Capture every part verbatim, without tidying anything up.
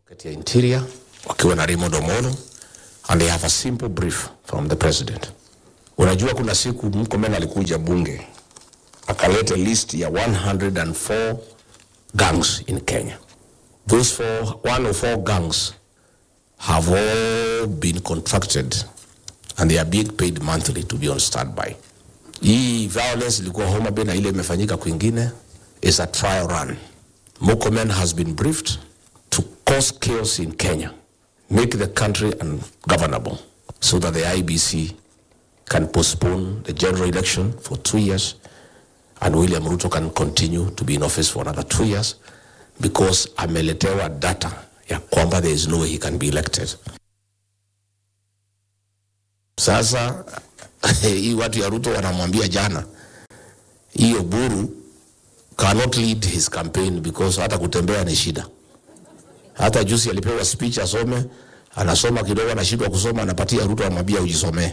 Kati ya Interior, wakiwa na Raymond Omolo, and they have a simple brief from the president. Unajua, kuna siku Murkomen alikuja bunge, akaleta list ya one hundred and four gangs in Kenya. Those four, one oh four gangs have all been contracted and they are being paid monthly to be on standby. Hii violence ilikuwa Homa Bay na ile imefanyika kwingine is a trial run. Murkomen has been briefed to cause chaos in Kenya, make the country ungovernable, so that the I E B C can postpone the general election for two years and William Ruto can continue to be in office for another two years because ameletewa data ya kwamba there is no way he can be elected. Sasa hii watu ya Ruto wanamwambia jana, hii Oburu cannot lead his campaign because hata kutembea ni shida. Hata juzi alipewa speech asome, anasoma kidogo, anashindwa kusoma, anapatia Ruto, amwambia, "Ujisomee."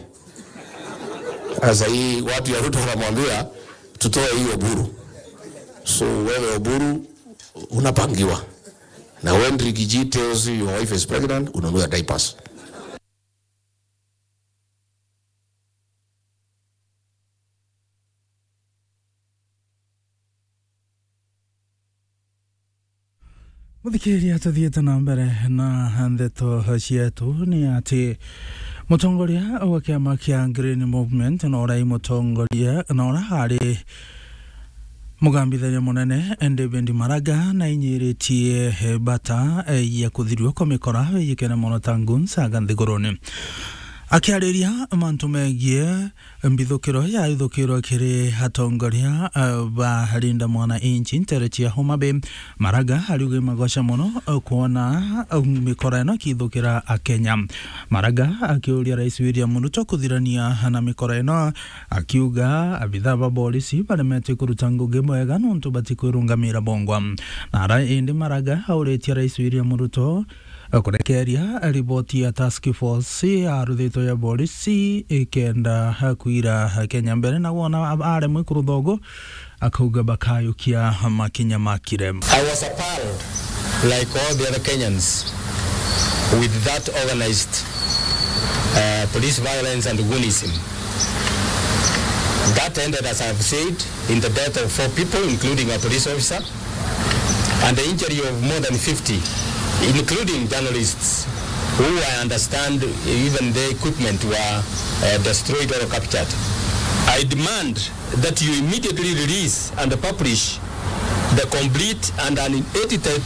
Sasa hii watu ya Ruto wanamwambia, "Tutoe hii Oburu." So wewe Oburu unapangiwa. Na when Riggy G tells you your wife is pregnant, ununue diapers. Muthikiria, tuthiite na mbere na ndeto cietu, ni ati mutongoria wa kiama kia Green Movement na uria i mutongoria na uria ari mugambitharia munene, David Maraga, nainyiritie bata ya kuthirua kwa mikora yikene mono ta ngunsa ga nthiguruni. Akiariria mantu megie mbithukiro ya ithukiro kiri atongoria, eh, ba Linda Mwananchi ntere cia Homa Bay, Maraga ariuga i magoca mono, eh, kwona, eh, mikora ino ikithukira Akenya. Maraga akiuria Rais William Ruto kuthirania na mikora ino, akiuga abithaa ba borisi baremete kuruta ngugi bwega nontu batikwirungamira bongwa. Nara indi Maraga auritie Rais William Ruto kurekeria riboti ya task force ya ruthito ya borisi ikenda kwira Kenya mbere na wona aremwe kurutha ugu, akauga bakayukia makinya makire. I was appalled, like all the other Kenyans, with that organized, uh, police violence and goonism. That ended, as I have said, in the death of four people, including a police officer, and the injury of more than fifty, including journalists, who I understand even their equipment were, uh, destroyed or captured. I demand that you immediately release and publish the complete and unedited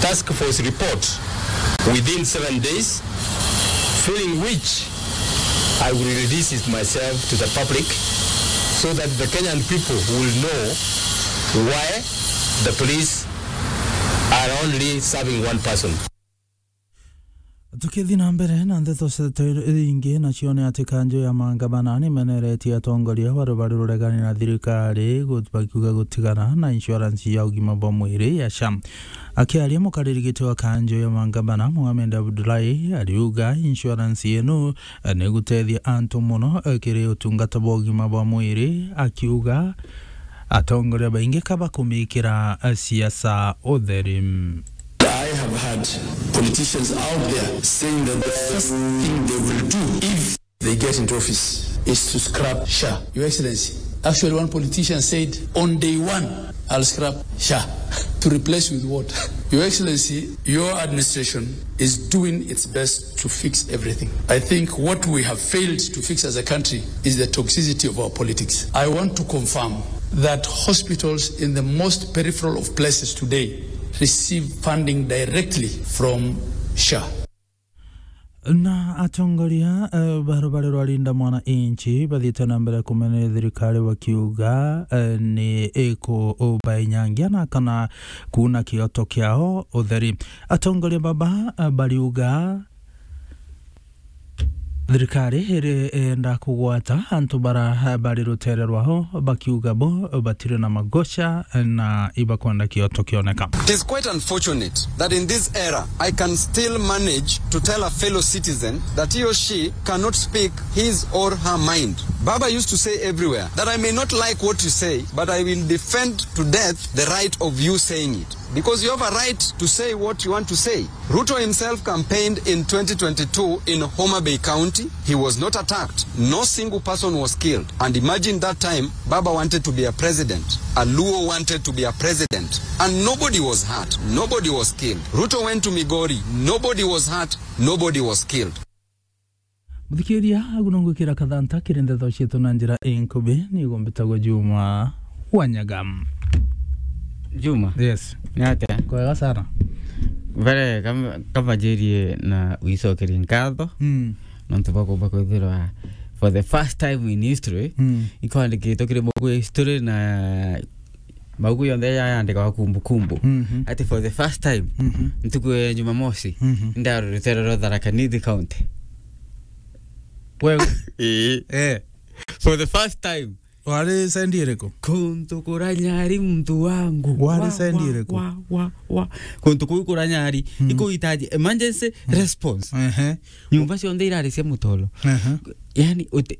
task force report within seven days, failing which I will release it myself to the public so that the Kenyan people will know why the police are only serving one person. Tukithi na mbere na ndeto cietu ingi, nacio ni ati kanju ya mangabana nimeneretie atongoria baria bari ruregani na thirikari gut-, bakiuga gutigana na insurance ya ugima bwa mwiri ya SHA. Akiaria mukariri giti wa kanju ya mangabana Mohamed Abdullahi ariuga insurance yenu, eh, ni gutethia antu mono, eh, kiri utungata bwa ugima bwa mwiri, akiuga atongoria baingi ka bakumikira, eh, siasa utheri. I have had politicians out there saying that the first thing they will do if they get into office is to scrap SHA. Your Excellency, actually one politician said, "On day one, I'll scrap SHA." To replace with what? Your Excellency, your administration is doing its best to fix everything. I think what we have failed to fix as a country is the toxicity of our politics. I want to confirm that hospitals in the most peripheral of places today receive funding directly from SHA. Na atongoria, eh, ba rubari rwa Linda Mwananchi bathiite na mbere kumeneria thirikari bakiuga, eh, ni ikubainyangia na kana kuuna kioto kiao utheri. Atongoria baba, eh, bariuga thirikari iri enda kugwata antu bara, eh, bari rutere rwao, bakiuga bo batiri na magoca na ibakwenda kioto kioneka. It is quite unfortunate that in this era, I can still manage to tell a fellow citizen that he or she cannot speak his or her mind Baba used to say everywhere that I may not like what you say, but I will defend to death the right of you saying it. Because you have a right to say what you want to say. Ruto himself campaigned in twenty twenty-two in Homa Bay County. He was not attacked. No single person was killed. And imagine that time, Baba wanted to be a president. A Luo wanted to be a president. And nobody was hurt. Nobody was killed. Ruto went to Migori. Nobody was hurt. Nobody was killed. Muthikiria, agu no ngwikira kathanta kiri ndeto cietu na njira inkubi. Nigo mbitagwa Juma Wanyaga. Juma. Yes. Ni atia? Kwega sana. Mbere, kam-, kambajirie na wicokeria nkatho. Mm. Nontu bwa kumba kwithirwa for the first time in history, Mm. ikwandikitwe kiri mugu history na mauku yonthe ya yandikawa kumbukumbu. Mhm. Ati for the first time, Mhm. ntuku ya Jumamosi, Mhm. ndarorete roro Tharaka Nithi County. Wewe? Ii. Eh. For the first time. Wari sendi iriku? Kuntu kura Nyari, muntu wangu. Wari Wa, sendi wa, iriku? wa, wa, wa. Kuntu kuu kura Nyari. Mm. Ikuhitaji emergency Mm. response. Ehe. Nyumba cionthe irari cia mutoro. Ehe. Yani, uti,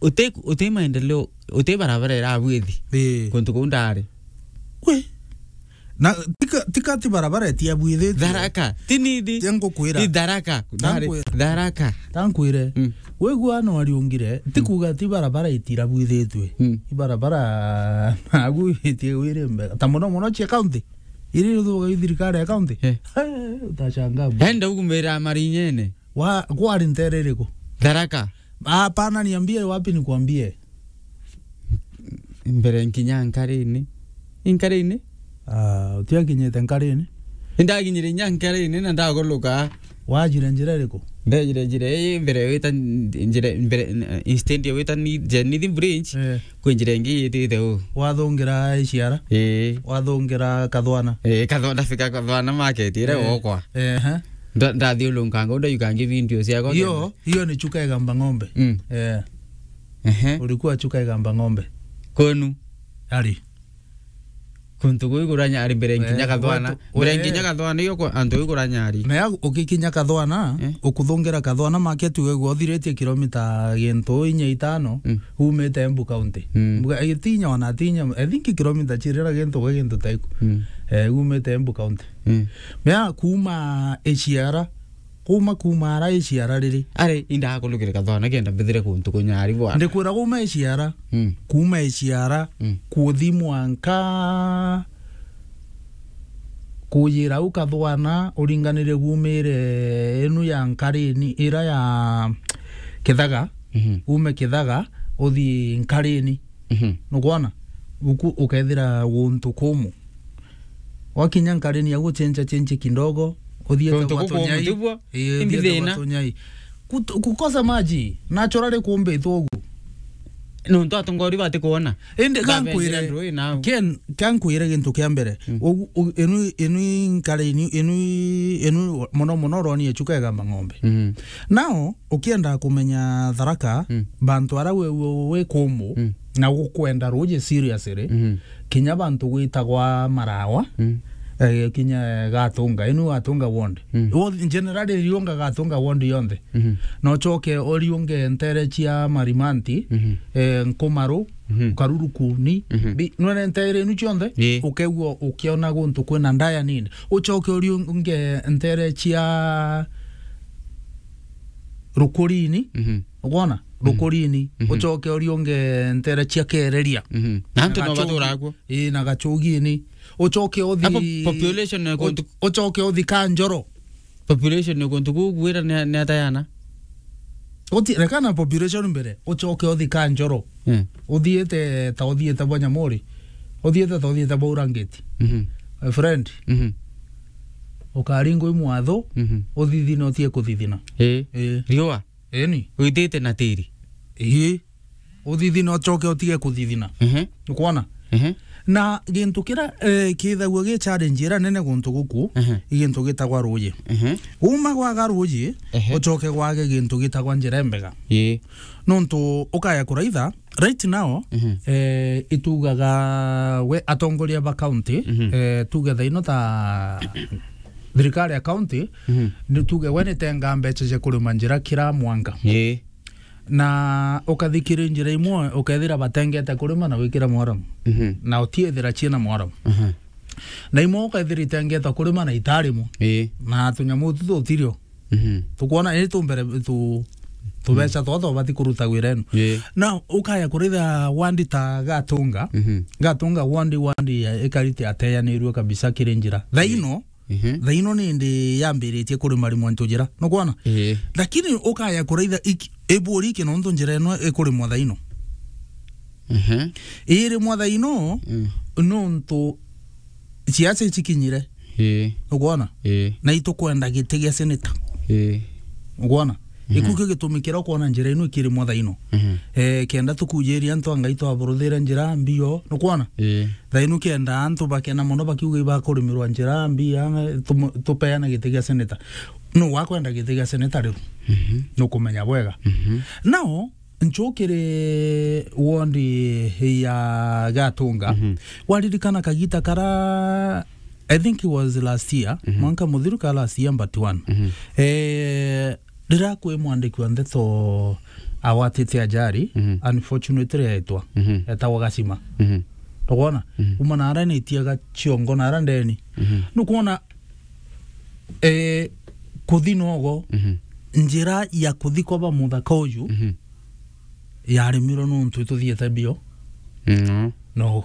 uti, uti maendeleo, uti barabara irabwithi. Ii. Kuntu kuu ndari. We. Na tika, tika ti barabara itiabwithitue. Tharaka. Ti nithi. Tia ngukwira. Ti Tharaka. Ndari. Tankwira. Tharaka. Tankwire. Mm. Wigua no ariungire, ti Mm. kuuga ti barabara itirabwithitue. Mm. I barabara agu itigwire mbega. Ta muno muno cia county. Iri ithuga i thirikari ya county. Eh. He, utachangamwa. Enda ugumira marinyene. Wa, kwari ntere iriku? Tharaka. Hapana, niambie wapi nikwambie. Mbere nkinya Nkarini. I Nkarini? Ah, utiakinyite Nkarini? Indakinyire inya Nkarini na ndaguluka. Wajire njira iriku? Ndejire njira ii mbere wita njira mbere, instead ya wita ni Jenith Bridge, Eh. kwi njira ingi yitite u. Wathungira Iciara? Ii. Wathungira Kathwana? Ii, Kathwa-, ndafika Kathwana market ire Eh. gokwa. Ehe. Nda-, ndathiulunkangu ndayukangi video ciakwa Iyo, kenda. Iyo ni Chuka Igamba Ng'ombe. Mm. Eh. Ehe. Ulikuwa Chuka Igamba Ng'ombe. Kwenu? Ari. Kuntu kuu kura Nyari mbere nkinya Eh, Kathwana. Watu, Mbere we- nkinya Kathwana iyo kwa antu kuu kura Nyari. Na ya ukikinya Kathwana, Eh. ukuthungira Kathwana market wegua uthiritie kilomita gintu inya itano, Mm. umite Embu County. Mm. Mbuga, itinya ona tinya, I think kilomita chirira gintu gwe gintu taiku. Mm. Eh, umite Embu County. Mm. Mea kuma Iciara, kuma, kuma ara Iciara riri. Ari, indaga kulukire Kathwana kenda mbithire kuntu kuu Nyari bwana. Ndikwira kuma Iciara, Mm. kuma Iciara, Mm. kuthi mwanka kujira u Kathwana, uringanire gumire inu ya Nkarini, ira ya Kithaga, Mhm. ume Kithaga, uthi Nkarini. Mhm. Nukwona? Uku ukethira guntu kumu. Wakinya Nkarini ya guchencha chenche kidogo, uthiete Guntu gwa gukumu Tunyai. Tibwo? Ii, Imbi uthiete gwa thina. Tunyai. Kut-, kukosa maji, naturally kumbitwe ugu. Nontu atongori batikuona. Indi Babenjire kankwire, ndui nao. Ken, kankwire gintu kia mbere. Mm. Ugu, u-, inu, inu Nkarini, inu, inu, muno muno uroni Chuka Igamba Ng'ombe. Mhm. Nao, ukienda kumenya Tharaka, Mm. bantu ara we, we, we kumu, Mm. na gukwenda ruji seriously, Mhm. kinya bantu gwitagwa Marawa, Mm. eh, kinya Gatunga, inu Gatunga ward. Mm. Wo-, generally riunga Gatunga ward yonthe. Mhm. Na ucoke uriunge ntere cia Marimanti, Mhm. eh, Nkumaru, Mhm. Karurukuni, Mhm. bi-, nwene ntere inu cionthe, Ii. ukegua ukiona guntu kwina ndaya nini. Ucoke uriunge ntere cia Rukurini, Mhm. ukwona? Mhm. Rukurini, Mhm. ucoke uriunge ntere cia Kereria. Mhm. Na antu Na no Gachugi-, baturaga kuo. Ii, na Gachugini. Ucoke uthi Hapo population ni u-, kuntu ucoke uthi Kanjoro. Population ni kuntu kuu gwira ni, ni atayana? Uti, reka na population mbere, ucoke uthi Kanjoro. Mm. Uthiite ta uthiite bwa Nyamuri. Uthiite ta uthiite bwa Urangiti. Mhm. My friend, Mhm. ukaringwa i mwatho, Mhm. uthithina utie kuthithina. Ii. Ii. Riua? Eni. Witite na tiri? Ii. Uthithina ucoke utige kuthithina. Mhm. Ukwona? Mhm. Na gintu kira, eh, kithagua gi challenge ira nene guntu guku, Mhm. i gintu gitagwa ruji. Mhm. Uma gwaga ruji, Ehe. ucoke gwage gintu gitagwa njira imbega. Ii. Nontu ukaya kuraitha, right now, Mhm. eh, itugaga we atongoria ba county, Mhm. eh, tuge thaino ta thirikari ya county, Mhm. ni tuge we nitenga mbeca cia kurima njira kira mwanga. Ii. Na ukathi kiri njira imwe, ukethira batengete kurima na wikira mwaramu. Mhm. Na utiethira ciina mwaramu. Mhm. Na imwe ukethira itengete kurima na itarimwo. Ii. Na tunyamu tu tutirio. Mhm. Tukwona, ii tumbere tu, tubeca twao tubati kuruta wira enu. Ii. Na ukaya kuritha wandi ta Gatunga. Mhm. Gatunga wandi, wandi ya ikarite ateyanirue kabisa kiri njira. Thaino, Mhm. Thaino ni ndi yambiritie kurima rimwe ntu njira. Nukwona? Ii. Lakini ukaya kuraitha iki-, iburi iki nontu njira ino ikurimwa thaino. Mhm. Irimwa thaino, Mm. nontu ciaca icikinyire. Ii. Nukwona? Ii. Na itukwenda giti gia seneta. Ii. Nukwona? Mhm. Iku kio gitumi kiria ukwona njira ino ikirimwa thaino. Mhm. Eh, kenda tukujiria antu a Ngai twaburuthire njira mbio. Nukwona? Ii. Thaino kenda antu bakena mono bakiuga ibakurimirwa njira mbia, tumu-, tupeana giti gia seneta. Nu wakwenda giti gia seneta riu? Mhm. Nukumenya bwega. Mhm. Nao, ncukire wondi ya Gatunga, Mhm. waririkana kagita kara, I think it was last year, Mhm. mwanka muthiru ka last year, but one. Mhm. Eh, riria kwi mwandiki wa ndeto agwatite ajari, Mhm. unfortunately etwa, Mhm. etagwa Gacima. Mhm. Nukwona? Mhm. Uma na ara nitiaga ciongo na ara ndeni. Mhm. Nukwona, eh, kuthi nogo, Mhm. njira ya kuthi kwa ba muthaka uju, Mhm. yarimirwe nontu ituthiete bio. No. Nogo.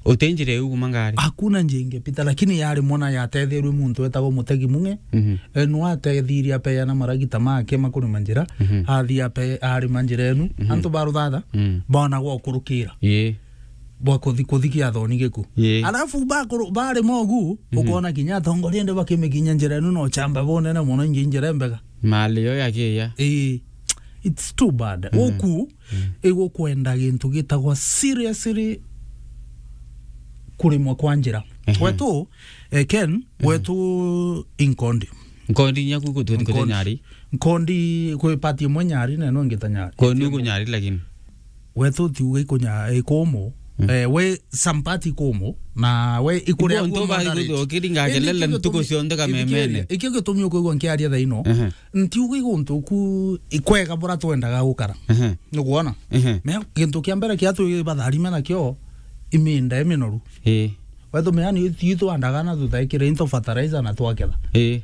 Uti njira iu kuma ngari? Hakuna njia ingepita, lakini yari mwana yatethirwe muntu wetagwo Mutegi Mung'e. Mhm. E, nwatethirie apeana maragita make makurima njira, Mhm. athi ape-, arima njira enu. Mhm. Antu ba Ruthata, Mm. bona gwa ukurukira. Ii. Bwa kuthi, kuthi kiathoni giku. Ii. Alafu bakuru-, barima ugu, Mhm. ukona kinya atongoria ndi bakimikinya njira enu no chamba bonene mono ingi njira mbega. Mali yo yakiya. Ii. It's too bad. Mm. Guku, Mm. igukwenda gintu gitagwa seriously kurimwa kwa njira. Ehe. Gwetu, eh, Ken, Mhm. gwetu inkondi. Nkondi nyaku gutwetikuja Nkondi. Nyari. Nkondi kwi pati imwe Nyari na ino ingi ta Nyari. Ko ni ku Nyari lakini. Gwetu tiuga ikunya-, ikumu. Mm. Eh, we some part ikumu, na we ikuria Ibo ntu bari kuthio kiringa kelele ntuku cionthe kamemene. Ikio gitumi ukwigua nkiaria thaino. Ehe. Ntiuga iguntu ku ikwega bura twendaga gukara. Ehe. Nukwona? Ehe. Me gintu kia mbere kia twi batharime nakio iminda iminoru. Ii. Wetu meani itu andaga na tutaikire into fertilizer na twaketha. Ii.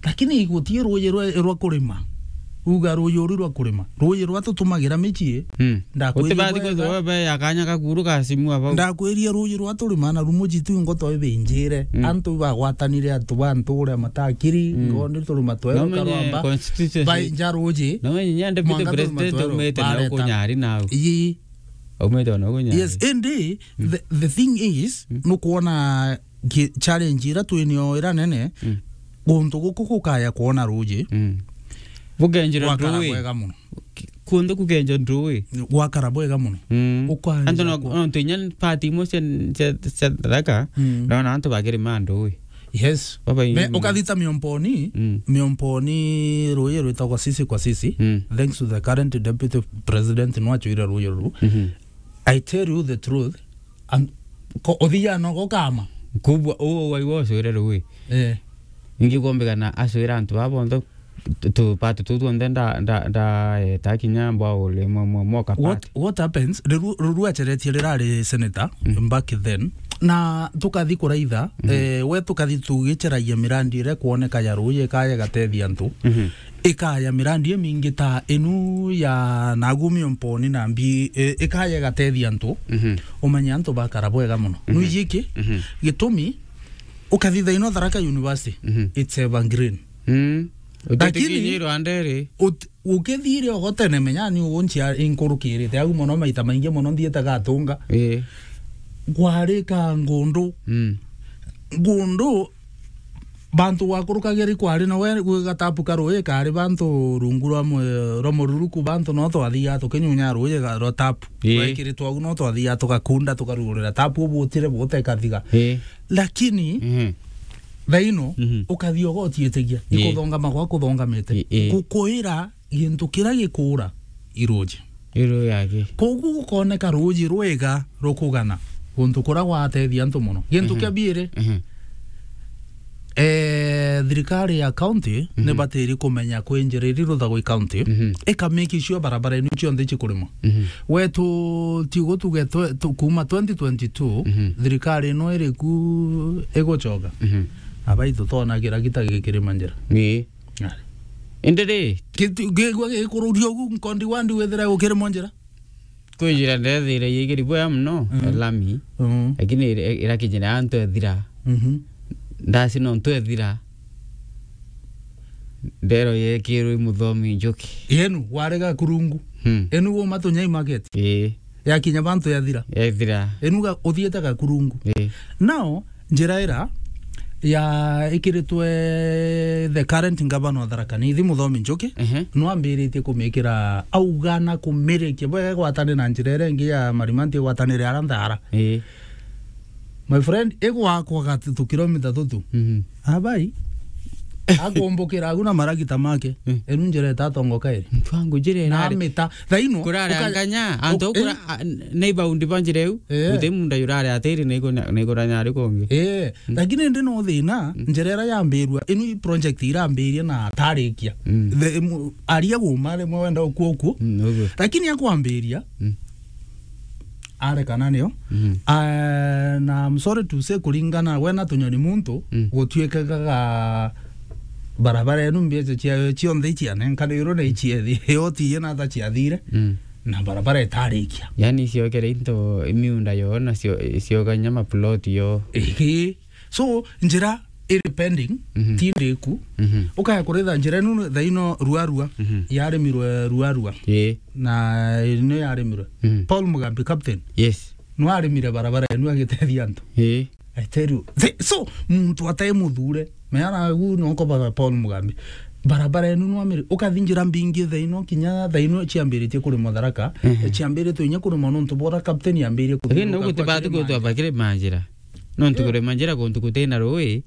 Lakini guti ruuji rwa, rwa kurima. Uga ruuji uru rwa kurima. Ruuji rwa tutumagira micii. Mm. Ndakwirire Utibathi bwega. Kwithirwa be ya kanya gakuru gasimua bau. Ndakwirie ruuji rwa turima na rumo jitu ingo twa ibinjire. Mm. Antu bagwatanire antu ba nture matakiri, Mm. ngo ni turima twe No menye karwamba. Constituency. Ba inja ruuji. No menye nyende Mwanka president turima twe umete na bareta. Uko Nyari nau. Ii. Umete na uko Nyari. Yes, indi, Mm. the, the thing is, Mm. nukwona ki-, challenge ira twinio ira nene, Mm. guntu guku gukaya kwona ruuji. Mm. Bukenjira Gwakara ndui. Bwega muno. Ki-, kunthe kukenja ndui. Gwakara bwega muno. Mm. Ukanjira Antu no, kwa- no, ntu inya pati imwe cia, cia, cia Tharaka, Mm. ndona antu bakirima ndui. Yes. Baba Me, imi- ukathita Miomponi, Mm. Miomponi ruuji rwitagwa Sisi kwa Sisi, Mm. thanks to the current deputy president, nwachwire ruuji ruru. Mhm. I tell you the truth, and ko, uthia no go kama. Kubwa, uo wai wocwire ruuji. Eh. Ingi kumbikana acwira antu baba bonthe tu, tu, pati tu tuonthe nda, nda, nda, eh, ta kinya mbwa ule mwa, mwa, mwa What, kapati. What happens? Ruru, ruru aceretie rirari senator, Mm. back then. Na tukathi kuraitha, Mhm. eh, we tukathi tugiceragia mirandi ire kuoneka ya ruuji ikaya gatethia antu. Mhm. Ikaya mirandi imingi ta inu ya nagu Miomponi na mbi, eh, ikaya gatethia antu. Mhm. Umenye antu bakara bwega muno. Mhm. Nuiji iki? Mhm. Gitumi, ukathitha ino Tharaka University, Mhm. it's evergreen. Mm. Lakini Utetikinyirwa nderi. Ut-, ukithire ogotene menyani ugu nchia inkurukirite au mono maita maingi mono nthiite Gatunga. Ii. Kwarika ngundu. Mm. Ngundu, bantu gwakurukagira kwari na we gwi gatapu ka ruuji kari bantu rungu rwa mwe-, rwa mururuku bantu no twathiaga tukinyunya ruuji ga-, rwa tapu. Ii. Rwekiritwe au no twathiaga tugakunda tukarugurira tapu ubutire bute kathiga. Ii. Lakini, Mhm. thaino, Mhm. ukathi ogotietigia, Ii. ikuthongama gwa kuthongamite. Ii, ii. Gukuira gintu kiria gikuura i ruuji. I ruuji aki. Koguo gukoneka ruuji rwega rukugana guntu kuria gwatethia antu mono. Gintu Mhm. kia biiri, Mhm. eh, thirikari ya county Mhm. ni batiri kumenya kwi njira iri ruthagwa i county, Mhm. ika make sure barabara inu cionthe cikurimwa. Mhm. Wetu tiugu tuge twe-, tu-, kuma twenty twenty-two, Mhm. thirikari ino iri ku igucoka. Mhm. Abai tutonagira gita gikirima njira. Ii. Ari. Indi ri? Gitu-, gigwa gikururia ugu nkondi wandi withira gukirima njira? Kwi njira ndethire igiri bwega muno, Mm. ya lami. Mm. Lakini ira-, irakinyira antu ethira. Mhm. Ndasi no ntu ethira. Ndero yekirwe muthomi njuki. Yenu, warega kurungu. Hmm. Enu wo matunyai market. Ii. Yakinya bantu yathira. Yathira. Enu ga-, uthiete gakurungu. Ii. Now, njira ira ya ikiritwe the current governor wa Tharaka Nithi, Muthomi Njuki, Ehe. no ambiritie kumikira auga na kumirikia. Bwe gwatane na njira ira ingi ya Marimanti, gwatanire ara nthara. Ii. My friend, igwakwa gati tu kilomita tutu. Mhm. Abai. Akumbukira agu na maragita make. Mm. Enu njira itatongoka iri. Mtu wangu, njira Na irari. amita. Thaino, Kurari uka-, anganya, antu u-, ukura, eh. a-, n-, neighborhood ba njira iu. Eh. Guti munda yurari atiri na igura, na igura nyari kungi. Eh, Mm. lakini ndi no thina, Mm. njira ira yambirua, inu i project irambiria na tarikia. Mm. The, mu-, aria guma rimwe wenda ukua ukuo. Mm, uguo. Lakini akwambiria, Mm. arekana nio. Mhm. Ah, na I'm sorry to say, kuringana we na tunyoni muntu, Mm. gutuikaga ga barabara enu mbeca ciayo cionthe icianenkanirwe na iciethi, yotiye na ta ciathire, Mm. na barabara itarikia. Yani ciokere into miunda yo na cio-, ciokanya maplot yo. Ii. So, njira iri pending, Mhm. ti ndiku. Mhm. Ukaya kuritha njira inu thaino ruarua, Mhm. yaremirwe ruarua. Ii. Na ino yaremirwe. Mhm. Paul Mugambi, captain. Yes. No aremire barabara enu agitethia antu. Ii. I tell you. The, so, muntu atai muthure. Meana agu no ko baba Paul Mugambi. Barabara enu no amire. Ukathi njira mbingi thaino, kinya thaino ciambiritie kurima Tharaka. Mhm. Ciambiritie inya kurima nontu bora captain yambirie kuthi Lakini no uka kwa gutibati kirima gutwa njira. bakirima njira. Nontu Eh. kurima njira guntu gutina rui,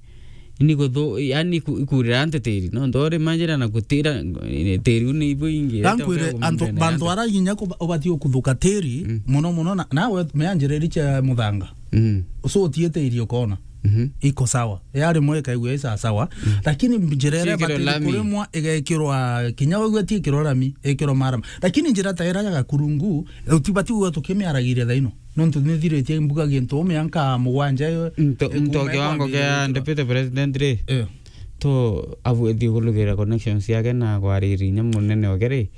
ni guthu-, yani ku-, ikurira antu tiri. Nontu urima njira na gutira, eh, tiri u ni ibwingi, Gankwire, antu, bantu ara inya kuba-, ubati ukuthuka tiri, Mm. muno muno na, nawe mea njira iri cia muthanga. Mm. So, utiite irio kona. Mhm. Iko sawa. Yari mwe ikaigua i sawa sawa. Mm. Lakini njira ira Ciikirwe ibati lami. kurimwa igekirwa kinya wigua ti ikirwa lami, ikirwa marama. Lakini njira ta ira ya Gakurungu, utibati gwa tukimiaragiria thaino. Nontu nithiritie mbuga gintu mianka mugwanja yo, Nto-, ikuma nto kiwango kia ikwambiritie. Deputy President ri? Eh. To abu-, thiugulugira connections ciake na kwaririria inya munene oke ri?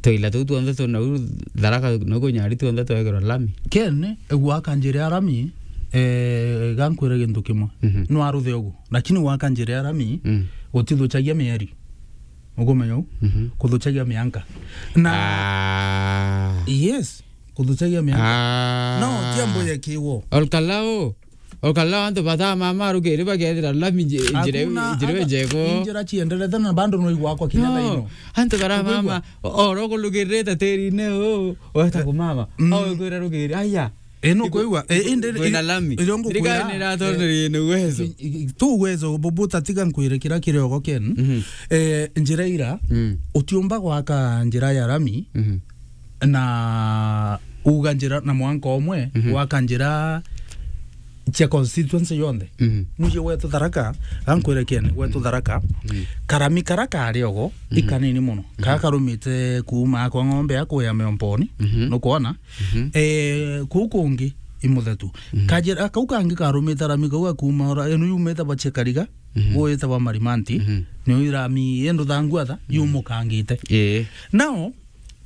Tuila tuu tuonthe tu nau Tharaka nau kunyari tuonthe twekirwa lami. Ken, gwaka njira ya lami, eh, gankwire gintu kimwe. Mhm. No aruthe ugu. Lakini gwaka njira ya lami, Mm. gutithucagia mieri. Ukumenya u? Mhm. Kuthucagia mianka. Na Ah. Yes, kuthucagia mianka. Ah. No, ti ambo yekiwo. Olkalao. Okala antu bataa mama rukiri bakethira lami nji-, njira iu, Hakuna, njira iu ata-, njego. Njira cienderete na bado no igwakwa kinya No, thaino. Antu bara Ukwigua? Mama, o-, oro kulugirite tirine u, weta kumama. Mm. Au kwira rukiri, aya. Ino Iku-, kwigua, e, inde, kwina i-, lami. Irio ngukwira, Thirikari ni iratonderie ni uwezo. I-, i-, tu uwezo, bubuta tiga nkwire kira kiri ogo Ken. Mhm. Eh, njira ira, Mm. utiumba gwaka njira ya lami, Mhm. na uga njira na mwanka umwe, Mhm. gwaka njira cia constituency yonthe. Mhm. Nuje wetu Tharaka, gankwire Ken, wetu Tharaka, Mhm. karami kara kari ogo, Mhm. ikanini muno. Mhm. Kara karumite kuuma kwa ng'ombe ya kuya Miomponi, Mhm. nukwona? Mhm. Eh, kuu kungi imuthetu. Mhm. Kajira kau kangi karumite rami kau ga kuuma ora, enu yumite ba Chekariga, Mhm. gwite ba Marimanti, Mhm. ni irami endo thangu atha, Mhm. yumukangite. Ii. Now,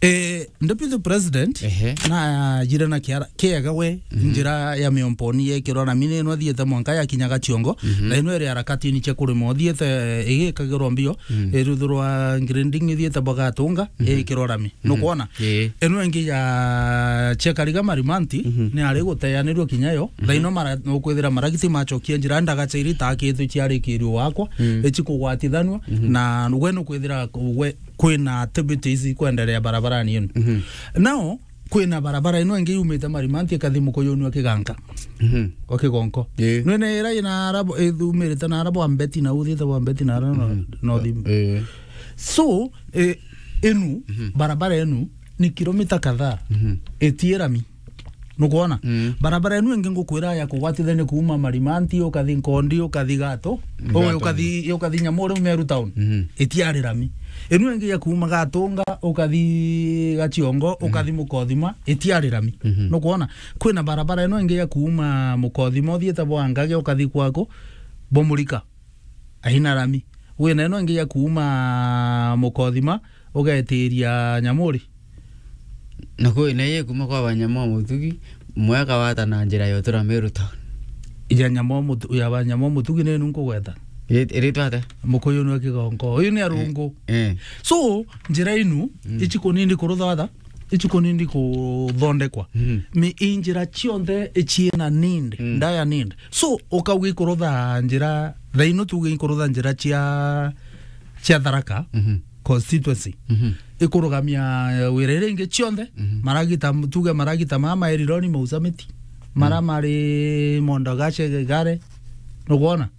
eh, Deputy President, Ehe. na jira na kiara, kiega we, Mhm. njira ya Miomponi yekirwa rami ni ino athiete mwanka ya kinya Gaciongo, Mhm. na ino iri harakatini cia kurima, uthiete, eh, igikagirwa mbio, Mhm. iruthirwa grading ithiete bagatunga, Mhm. ikirwa rami. Mhm. Nukwona? Ii. Ino ingi ya Chekariga Marimanti, Mhm. ni ari guteanirua kinya yo. Mhm. Thaino mara-, nukwithira maragiti machokia njira ndagacha iri takitwe ciarikirio wakwa, Mhm. ici kugwatithanua, Mhm. na we nukwithira we kwina activities ikwenderea barabarani ino. Mhm. Now, kwina barabara ino ingi yumite Marimanti ikathi Mukuyuni wa Kiganka. Mhm. Wa Kigonko. Ii. Nwene ira ina arabo, ithumirite na arabo wa Mbeti na uthiite wa Mbeti na arabo Mhm. no thimbu. Ii. So, eh, inu, Mhm. barabara inu ni kilomita kadhaa. Mhm. Itie rami. Nukwona? Mm. Barabara inu ingi ngukwira ya kugwatithania kuuma Marimanti, ukathi Nkondi, ukathi Gato, Gato. Owe, ukathi, ukathi Nyamuri Meru Town. Mhm. Itiari rami. Inu ingi ya kuuma Gatunga, ukathi Gachiongo, mhm, ukathi Mukothima, itiari rami. Mhm. Nukwona? Kwina barabara ino ingi ya kuuma Mukothima, uthiite Bwangage, ukathi kwaku, Bomurika. Aina rami. Wina ino ingi ya kuuma Mukothima, ugetiria Nyamuri. Na kwina iyo ikuma kwa banyama wa Mutugi, mweka wata na njira ya utura Meru Town. Ya nyama wa Mutu-, ya banyama wa Mutugi ninu nkugweta. Iri-, iritwa atia? Mukuyu niwe Kigongo. Uyu ni Arungu. Eh, eh. So, njira inu, mm, ichi kunindi kurutha wata? Ichi kunindi kuthondekwa. Mm. Mi, i njira cionthe ichiina need, mm, ndaya need. So, ukauga ikurutha njira, thaino tuge ikurutha njira cia, cia Tharaka, mhm, constituency. Mhm. Ikurugamia, eh, wira iria ingi cionthe, mhm, maragita, tuge maragita maa ma Erironi, Mausamiti, mara, mm, mari Mondo Gache Gare, nukwona?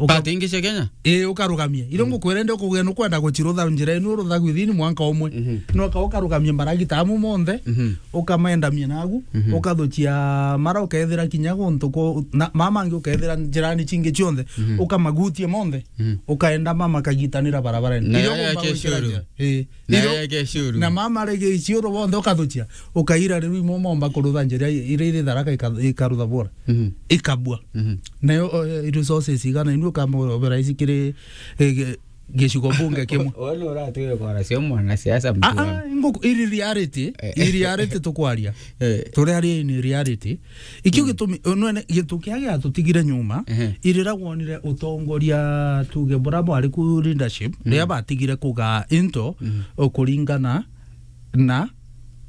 Uka- Pati ingi cia Kenya? Ii, ukarugamia. Irio, mm, ngukwira ndi ukugia nukwenda guchirutha njira inu urutha gwithini mwanka umwe. Mhm. No ka ukarugamia maragita amu monthe, mhm, ukamaendamia nagu, mhm, ukathuchia mara ukethira kinya guntu ku-, na, maa mangi ukethira njirani chingi cionthe, mhm, ukamagutia monthe, mhm, ukaenda mama kagitanira barabarani. Na irio yaya gumba gwikira keshuru. Njira. Ii. Na irio yaya keshuru. Na mama rege iciuru bonthe ukathuchia, ukaira riu imo momba kurutha njira iria iri Tharaka ika-, ikarutha bora. Mhm. Ikabua. Mhm. Nayo, eh, resources igana inu ukamobera ici kiri, eh, ge-, gicigo bunge kimwe. Wona uratuge kwara cio mwanasiasa mtu. Ah, ah, wangu. Nguku-, iri reality, eh, iri reality tukwaria. Eh. Turi ari in reality. Ikio, mm, gitumi, nwene, gintu kia giatutigire nyuma, ehe, irira wonire utongoria tuge bura bwari ku leadership, mm, riria batigire kugaa into, mm, ukuringana na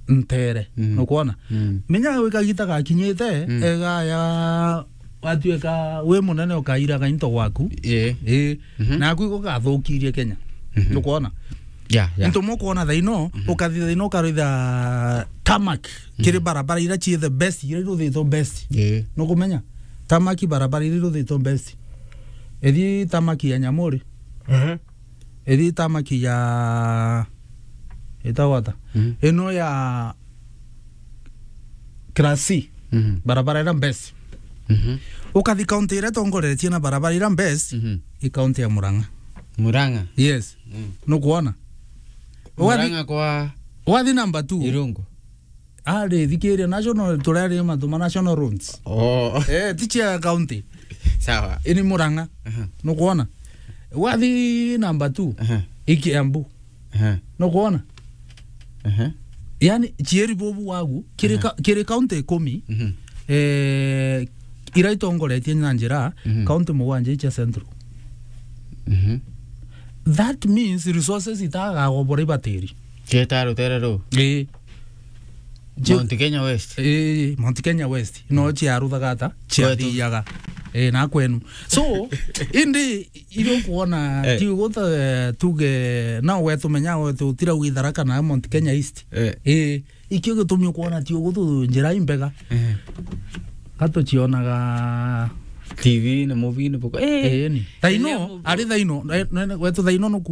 ntere. Mm. Nukwona? Mm. Menya wi kagita gakinyite, mm, egaya watuika wi munene ukairaga into gwaku. Ii. Ii. Mhm. Naku igugathukirie Kenya. Mhm. Nukwona? Yeah, yeah. Into mukwona thaino, mhm, ukathi thaino ukaritha tarmac, mhm, kiri barabara ira cii the best, ira iruthitwo best. Ii. Nukumenya? Tarmac barabara ira iruthitwo best. Ithi tarmac ya Nyamuri. Mhm. Ithi tarmac ya, itagwa ata? Mhm. Ino ya Class C. Mhm. Barabara ira best. Mhm. Ukathi county ira itongoretie na barabara ira best, mhm, i county ya Murang'a. Murang'a? Yes. Mm. Nukwona? Ugathi, Murang'a kwa ugathi number two. Irungu. Ari thikiria national, turia ri mantu ma national roads. Oh. Eh, ti cia county. Sawa. Ini Murang'a. Aha. Nukwona? Wathi number two. Aha. I Kiambu. Aha. Nukwona? Aha. Yani, cieri bobu wagu, kiri, aha, ka-, kiri county ikumi, mhm, eh, ira itongoretie na njira, mhm, county mugwanja icia central. Mhm. That means resources itagagobora ibatiri. Cieta rutere ru. Ii. Mount Kenya West. Ii, Mount Kenya West. No, mm, ciaruthaga ata? Kwetu. Ciathiaga. Ii, na kwenu. So, indi, irio kuona, eh, ti uguo ta, eh, tuge, na wetu menya wetu utira withara kana Mount Kenya East. Eh. Ii, ikio gitumi ukuona ti uguo tu njira imbega. Eh. Gatucionaga T V ni movie ni buko. Eh. Ii, ni. Thaino, ari thaino, eh, ne-, ne-, wetu thaino nuku,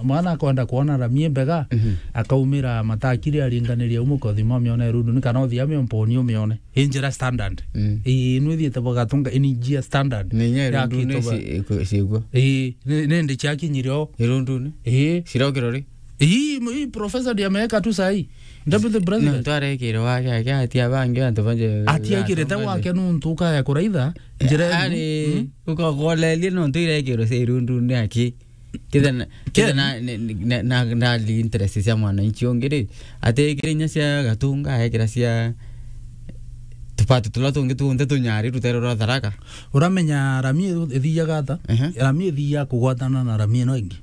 mwana akwenda kuona ramie mbega, mhm, akaumira matakiri aringaniria umu kothi mamione rundu, ni kana uthia mio mponi umione. I njira standard. Mm. Ii, inu ithiite bagatunga ini njia standard. Ni nya ya rundu ni kituba. Ci-, ku-, cigua. Ii, ni, ni ndi ciakinyire o. Irundu ni? Ii. Cirokirori? Ii, mu-, ii, professor ndiameweka tu sahi. Deputy president. No, twarekire wake, ake atia bangi antu banje. Atiekire te wake nuntu ukaya kuraitha. Njira ari, mm, ukakoleria nontu irekirwe cia irundu ni aki. Kithe na, kithe na, na, na, na, na interest cia mwananchi ungi ri, atekire inya cia Gatunga, ekira cia tupati tula tungi tunthe tunyari rutere rwa Tharaka. Uramenya rami ithiaga ata? Ehe. Rami ithiaga kugwatana na rami ino ingi.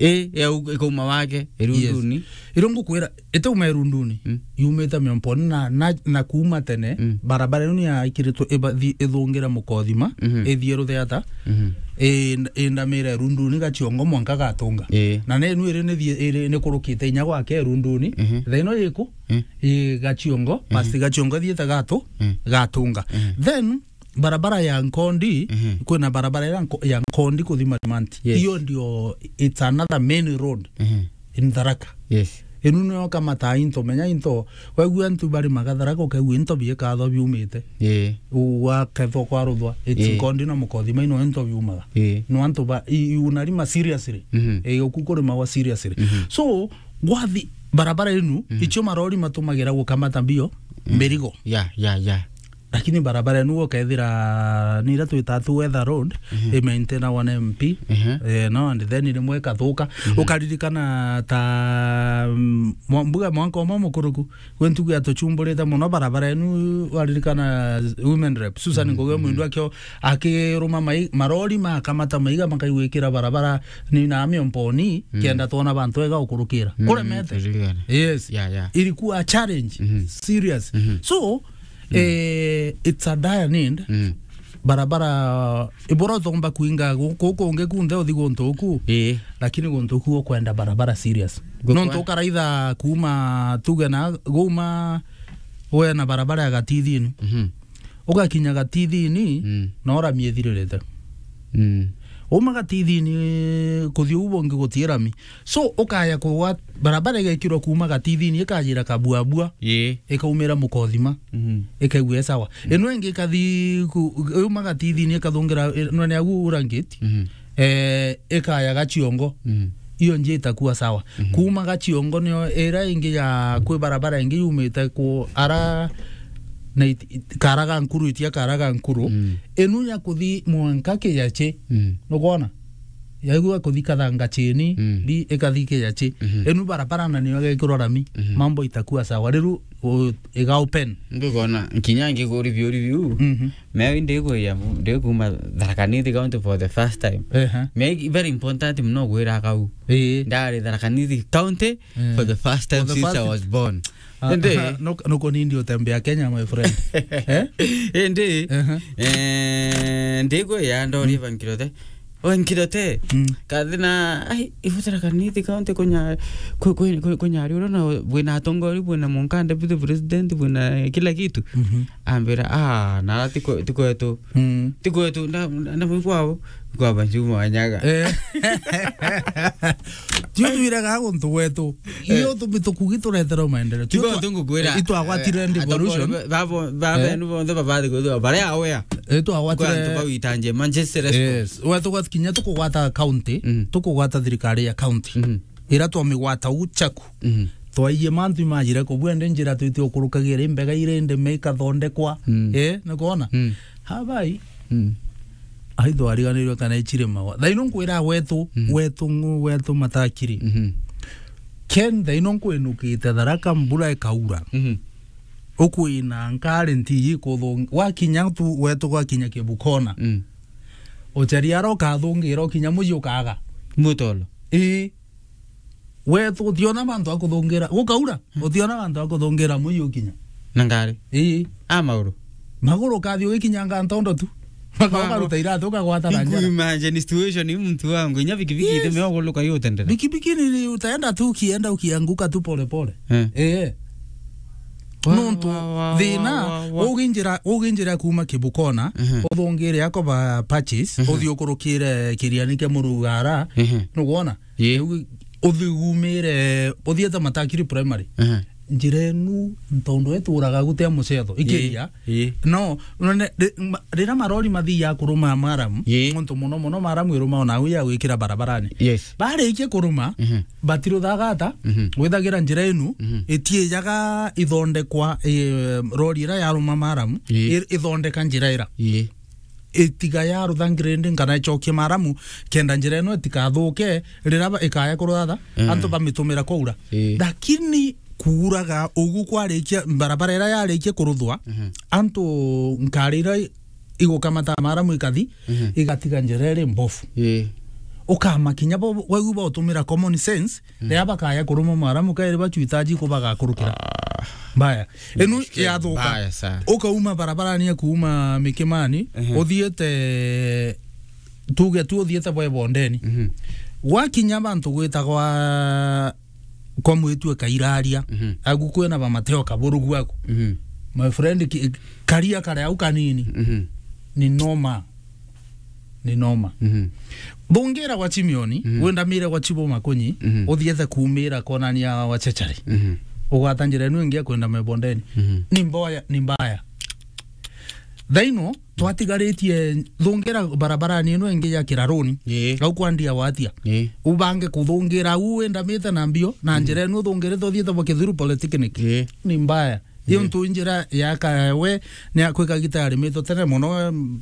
Ii, ya u-, ikauma wake, irunduni. Yes. Irio ngukwira, itauma irunduni, mm, yumite miomponi na, na, na kuuma tene, mm, barabara ino niyakiritwe iba-, thi-, ithungire Mukothima, mhm, ithie Rutheata, mhm, i-, indamire irunduni Gaciongo mwanka Gatunga. Ii. Na nenu iri ni thie-, iri ni kurukite inya gwake irunduni, mhm, thaino yiku, mm, i Gaciongo, mhm, past Gaciongo ithiite Gatu-, mm, Gatunga. Mhm. Then, barabara ya Nkondi, mhm, kwina barabara ya Nko-, ya Nkondi kuthi Marimanti. Yes. Iyo ndio, it's another main road, mhm, in Tharaka. Yes. Inu nio kamata into, menya into, wegua antu bari magathara, ukegua into biekathwa biumite. Ii. Ugakethwa kwaruthwa, it's Ii. Nkondi na mukothima ino into biumaga. Ii. No antu ba, i, i unarima seriously. Mhm. Ii, uku kurimagwa seriously. Mhm. So, gwathi barabara inu, Mhm. icio marori matumagira gukamata mbio, Mhm. mirigo. Ya, ya, ya. Lakini barabara enu ukethira ni ira twita tu weather road, Mhm. imaintainagwa na M P, Mhm. eh, no, and then rimwe ikathuka. Mhm. Ukaririkana ta, mm, mwa-, mbuga mwanka umwe mukuruku, gwi ntuku yatuchumburite muno barabara enu, waririkana women rep, Susan Mhm. Ngugi Mhm. Mwindu akio-, akiruma mai-, marori makamata maiga makaigwikira barabara ni na amio mponi, Mm. kenda twona bantu ega ukurukira. Mm, Kuremete. Kuririkana. Yes. Yeah, yeah. Ilikuwa a challenge, Mhm. serious. Mhm. So, Mm. Eh, it's a dire need. Mm. Barabara, ibura utomba kuinga gu-, guku ungi kunthe uthi guntu uku. Ii. Lakini guntu uku ukwenda barabara serious. Gukwa- Nontu ukaraitha kuma tuge na guma we na barabara ya Gatithini. Mhm. Ugakinya Gatithini, Mm. na uramie ithiririte. Mm. Uma Gatithini kuthi uu bungi gutii rami. So, ukaya kugwa, barabara igekirwa kuma Gatithini, ikajira Kabuabua, Ii. ikaumira Mukothima, Mhm. ikaigua sawa. Mhm. Ino ingi ikathi ku-, iuma Gatithini, ikathungira, i-, nwene agu Urangiti, Mhm. eh, ikaya Gachiongo. Mhm. Iyo nji itakuwa sawa. Mhm. Kuma Gachiongo nio ira ingi ya kwi barabara ingi yumite ku ara na it-, it-, Karaga Nkuru, itia Karaga Nkuru. Mm. Inu ya kuthi mwanka Kijachi. Mm. Nukwona? Yaigua kuthi Kathanga chini, Mm. ri ikathi Kijachi. Mhm. Inu barabara na nio gekirwa rami. Mhm. Mambo itakuwa sawa. Riru, u-, iga open. Ndukona, nkinya ngikuri biuri biu. Mhm. Mea ndikuya, ndikuma Tharaka Nithi County for the first time. Ehe. Mea very important muno gwira kau. Ii. Ndari Tharaka Nithi County Eh. for the first time For the since first I was born. Ah, Indi. Ah, nuko, nuko nindi utembea Kenya, my friend. Eh? Indi. Aha. Eh, ndikuya ndori Mhm. Bankirote. Bankirote. Mm. Kathina, ai, ibu Tharaka Nithi County kunya-, ku-, ku-, ku-, kunyari uro na bwina atongori, bwina munka deputy president, bwina kila kitu. Mhm. Ambira, ah, na ti kwe-, ti kwetu. Mm. Ti kwetu, na, na, na kwabo. Kwaba Juma Wanyaga. Eh. Tio twiraga guntu gwetu. Eh. Iyo tu-, tukugi tureterwa maendeleo. Tio Tibo twa-, tungu kwira. Itwagwatire Eh, devolution. Atongori ba-, babo, babe Eh. nu bonthe babari kwithirwa bare aware. Eh, twagwatire Kwa antu bawitanje Manchester Expo. Yes. Gwetu gwakinya tukugwata county, Mm. tukugwata thirikari ya county. Mm. Ira twamigwata u chaku. Mm. Twaiye mantu imajire kubua ndi njira twiti ukurukagira ri mbega iri ndime ikathondekwa. Mm. Eh, ni kwona? Mm. Habai. Mm. Ai, twariganirwe kana ichirimagwa. Thaino nkwira wetu, Mm. wetu ng'u, wetu matakiri. Mhm. Ken, thaino nkwinukite Tharaka mbura ikaura. Mhm. Ukwina nkari ntiji kuthung-, wakinya tu wetu gwakinya Kibukona. Mm. Uchari ara ukathungira ukinya muji ukaga. Mutolo. Ii. Wetu utiona bantu akuthungira. Gukaura, Mm. utiona bantu akuthungira muji ukinya. Na ngari. Ii. A mauru. Maguru ukathi ugikinyanga ntondo tu. Maka Wow. ukaruta iratu ukagwata na njara. Imagine situation hii mtu wangu. Inya pikipiki Yes. ite meoguluka yo utendera. Pikipiki ni, ni utaenda tu ukienda ukianguka tu pole pole. Eh. Eh. Wa, Nontu wa, wa, thina, wa, wa, wa. uginjira, uginjira kuma Kibukona, Mhm. uthungire ako ba patches, Mhm. uthi ukurukire kiriani kia Murugara, Mhm. nukwona? Ye. Riu uthi umire, uthiete Matakiri Primary. Aha. Njira enu, ntondu ituraga gutia mucetho, ikiria. Ye. No, none, ri-, ma-, riria marori mathiaga kuruma maramu, Ye. nontu muno muno maramu iruma ona au ya gwikira barabarani. Yes. Barikia kuruma, Mhm. batiruthaga ata, Mhm. withagira njira inu, Mhm. itiijaga ithondekwa, eh, rori iria yaruma maramu, Ye. i-, ithondeka njira ira. Ye. Itiga yarutha grade kana icokie maramu, kenda njira ino itikathuke, riria ba-, ikaya kurutha, Mm. antu bamitumira kwaura. Ii. Lakini kuuraga ugu kwarikia, barabara iria yarikia kuruthwa, Mhm. antu nkari iria igukamata maramu ikathi, Mhm. igatiga njira iri mbofu. Ii. Ukamakinya bo, waigu bautumira common sense, Mm. Riria bakaya kuruma maramu kairi bachuitaji ku bagakurukira. Ah. Mbaya. Inu Nasikia yathuka. Mbaya sana. Ukauma barabarani ya kuuma Mikimani, Ehe. uthiete, tuge tu uthiete bwe bondeni. Mhm. Gwakinya bantu gwitagwa kwa mwitu ekairaria. Mhm. Agu kwina bamateo kaburugu agu. Mhm. My friend, ki-, karia kare au kanini. Mhm. Ni noma. ni noma. Mhm. Thungira gwa Chimioni, Mhm. wendamire gwa Chibo Makunyi, Mhm. uthiete kuumira konania wa Chechari. Mhm. Ugwata njira inu ingi ya kwenda Mebondeni. Mhm. Ni mboya, ni mbaya. Thaino, twatigaritie thungira barabarani ino ingi ya Kiraruni. Ii. Au kwa Ndia Watia. Ii. Ubange kuthungira u wendamite na mbio, na Mhm. njira ino uthungirite uthiete bwa Kithuru Polytechnic. Ii. Ni mbaya. Iyo Ii. ntu njira ya kawe ni akwika gita arimitwe tene muno, em,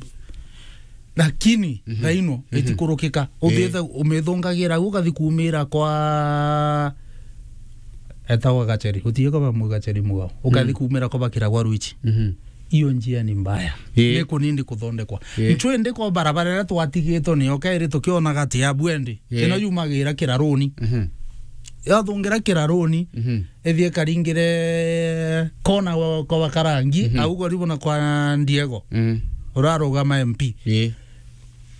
lakini Mhm. thaino Mhm. itikurukika. Ii. Uthiete umithungagira u ukathi kuumira kwa etagwa Gacheri. Utiye kwa bamwe Gacheri Mugao. Ukathi Mm. kuumira kwa bakira gwa Rwichi. Mhm. Iyo njia ni mbaya. Ii. Ni kunindi kuthondekwa. Ii. Ncwende kwa barabara iria twatigitwe niyo kairi tukionaga ati ya bwendi. Ii. Ino yumagira Kiraruni. Mhm. Yathungira Kiraruni, Mhm. ithie karingire kona kwa, kwa Bakarangi, Mhm. au karibu na kwa Ndiego. Mhm. Urarugama M P. Ii.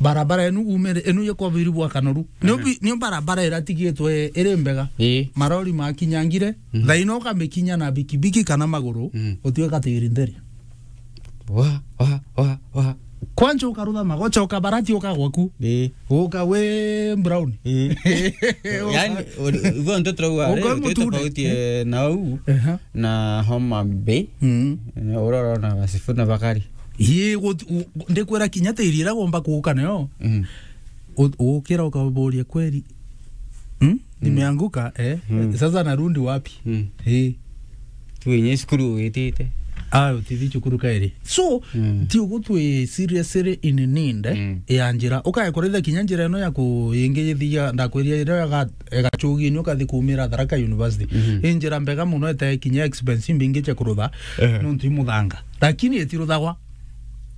Barabara enu umere, enu ye kwa biri bwa Kanoru. Nio Mhm. bi-, nio barabara iratigitwe iri mbega. Ii. Marori makinyangire, Mhm. thaino ukamikinya na bikibiki kana maguru, Mhm. utuika tiri ntheri. Wa, wa, wa, wa. Kwanja ukarutha magocha ukabarati ukagwa ku. Ii. Uka we Brown. Ii. Yani, uri-, ivo ntu turauga, Uka ri, uti mutune. Tofauti, eh, na u, Eha. na Homa Bay. Mm. Eh, uroro na Basifu na Bakari. Ii, gut-, u-, ndikwira kinya tiri ira gomba kuuka nayo. Mm. U-, ukira ukaburia kweri. Mm? Mm. Nimeanguka, eh? Mm. Sasa narudi wapi? Mm. Eh. Tu wenye cukuru witite. Ah, utithi cukuru kairi. So, Mm. ti ugu twi seriously in need, eh, Mm. ya njira. Ukae kuritha kinya njira ino ya ku-, ingi yithia, ndakwiria ira ya ga-, igachugi ni ukathi kuumira Tharaka University. Mhm. I njira mbega muno ete kinya expensive mbingi cia kurutha, Ehe. nontu i muthanga. Lakini itiruthagwa.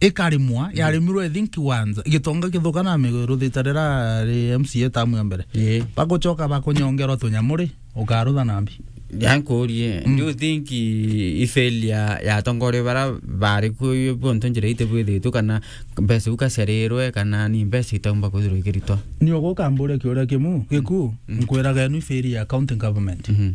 Ikarimwa, Mhm. yarimirwe, I think, wanza. Gitonga kithuka na miruthita rira ri M C A tamu ya mbere. Ii. Bagucoka bakunyengerwa tunyamuri, ukarutha na mbi. Yankurie, Mm. do you think i, i failure ya atongoria bara bari ku bonto njira ite bwithitwe, kana mbeca ukaciarirwe, kana ni mbeca itaumba kwithirwa ikiritwa? Ni ugukamburia kiuria kimu, giku, Mm. nkwiraga enu i failure ya county government. Mhm.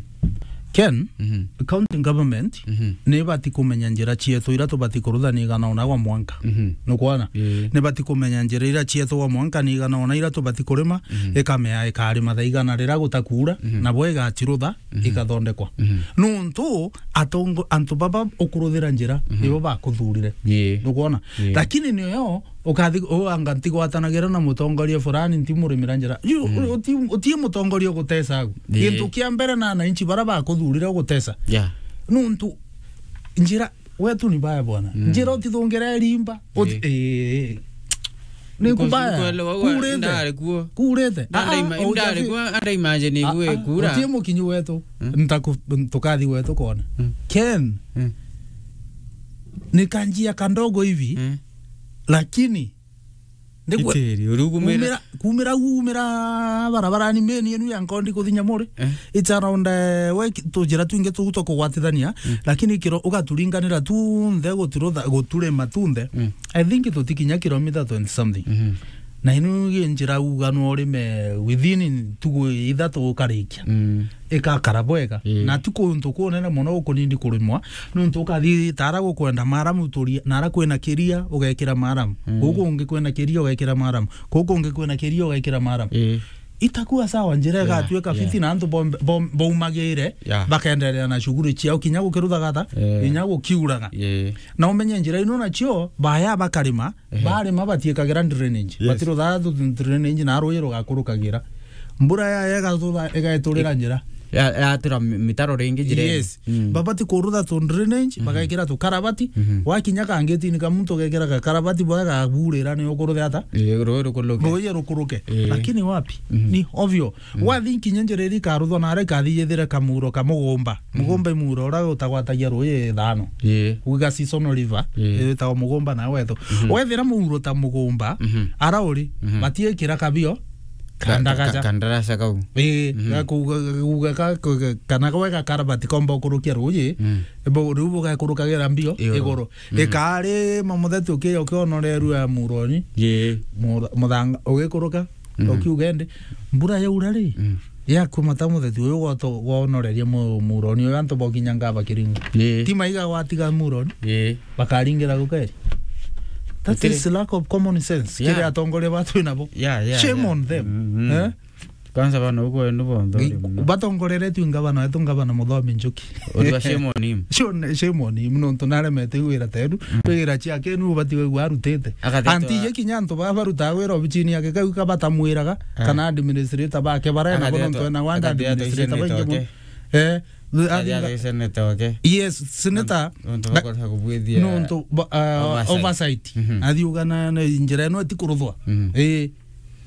Ken, Mhm. county government Mhm. ni ibati kumenya njira cietu ira tubati kurutha ni igana ona gwa mwanka. Mhm. Nukwona? Ii. Ni ibati kumenya njira ira cietu gwa mwanka ni igana ona ira tubati kurima, Mhm. ikamea ikarima thaa igana rira gutakuura, Mhm. nabo igacirutha, Mhm. igathondekwa. Mhm. Nuntu atongo-, antu baba ukuruthira njira, Mhm. nibo bakuthurire. Ii. Nukwona? Ii. Lakini niyo ukathi, u anga ntigwatanagira na mutongoria fulani, ntimurimira njira. Yu, Mm. uti, uti mutongoria ugutesa agu. Ii. Gintu kia mbere na ananchi bara bakuthurire ugutesa. Yeah. Nuntu njira, wetu ni baya bwana. Mm. Njira utithungire rimba. Uti, Ii. ii. Ni kubaya. Kuelewa, Kurite. Ndari kuo. Kurite. Ndari Ah, ah, ima-, ndari ujazi- kuo, ndari imagine Ah, igue ah, kura. Uti mukinyu wetu. Mm. Ntaku-, ntukathi wetu kona. Mm. Ken. Mm. Ni kanjia kandogo hivi. Mm. Lakini Ndigwe-, Itiri, urugumira. Kumira, kumira, umira barabarani meni enu ya Nkondi kuthi Nyamuri. Eh. It's around, eh, we ki-, tujira twingi tu twa kugwatithania, Mm. lakini kiro ugaturinganira tunthe guturutha-, guturima tunthe. Mm. I think tutikinya kilometer twenty something. Mhm. Na inu gi njira uga no urime within ntugu ithatu ukarikia. Mm. Igakara bwega. Ii. Na ti kuntu kunene mono gukunindi kurimwa, nuntu ukathi tara gukwenda maramu turia, nara kwina kiria, ugekira maramu. Mm. Guku kungi kwina kiria, ugekira maramu. Guku kungi kwina kiria, ugekira maramu. Ii. Itakuwa sawa, njira Yeah, igatuika yeah. fiti na antu bom-, bom-, baumagire, Yeah. bakaendelea na shughuli ciao, kinya gukiruthaga ata, Yeah. kinya gukiuraga. Yeah. Na umenye njira ino nacio, baya bakarima, Ehe. Barima batiikagira drainage. Yes. Batiruthaga tu drainage na ruuji rugakurukagira. Mbura yaya igatutha-, igaeturira njira. Ya, yatura mi-, mitaro ringi njira ino. Yes. Mm. Babati kurutha tu drainage, Mhm. bagekira tu karabati. Mhm. Wakinya kangitini ka muntu ugekira ka karabati bwega gaburira ni ukuruthe ata? Ii, ruuji rukuruke. Ruuji rukuruke. Ii. Lakini wapi? Mhm. Ni ovyo. Mm. Wathi kinya njira iri ikaruthwa na ara ikathi yithire kamuro ka mugumba. Mhm. Mugumba i muro uria utagwatagia ruuji ithano. Ii. Uga seasonal river, Ii. itagwa mugumba na wetu. Mhm. Wethira muro ta mugumba, Mhm. ara uri, Mhm. batiikira kabio, Ka-, kandagaca. Ka-, kandaraca kau. Ii, Mhm. ga kuga, kuga ka, kuga, kana gwe gakarabati komba ukurukia ruuji, Mm. bo, riu bugekurukagira mbio Iguru. iguru. Mhm. Ikari mamutheti ukiya ukionoreru ya muroni. Ii. Mutha-, muthanga ugikuruka, Mhm. ukiuga indi, mbura yaura ri, Mm. yakumata mutheti uyu gwato-, gwaonoreria mu-, muroni uyu antu bokinya ngaba kiringo. Ii. Ti maiga gwatiga muroni, Ii. bakaringira gukeri. That is lack of common sense. Yeah. Kiri atongoria ba twina bo. Yeah, yeah, shame on them. Mm-hmm. Eh? Kwanza bana uko enu bonthe uri muno. Batongoreretwe ngavana wetu, ngavana Muthomi Njuki. Uri wa shame on him. Shame on him, nontu naremete gwira teru. Wira ciake nu ubati wigua arutite. Anti ye kinya antu baba barutaga wira obichini yake, kau ka batamwiraga, kana administrator bake barena bono ntu ena wanda administrator baingi muno. Eh, Athiaga seneta wake. Yes, seneta. Nontu bakosa kubwithia nontu ba- uh, oversight. Oversight. Mhm. Athiuga na, na njira ino itikuruthwa. Mhm. Eh,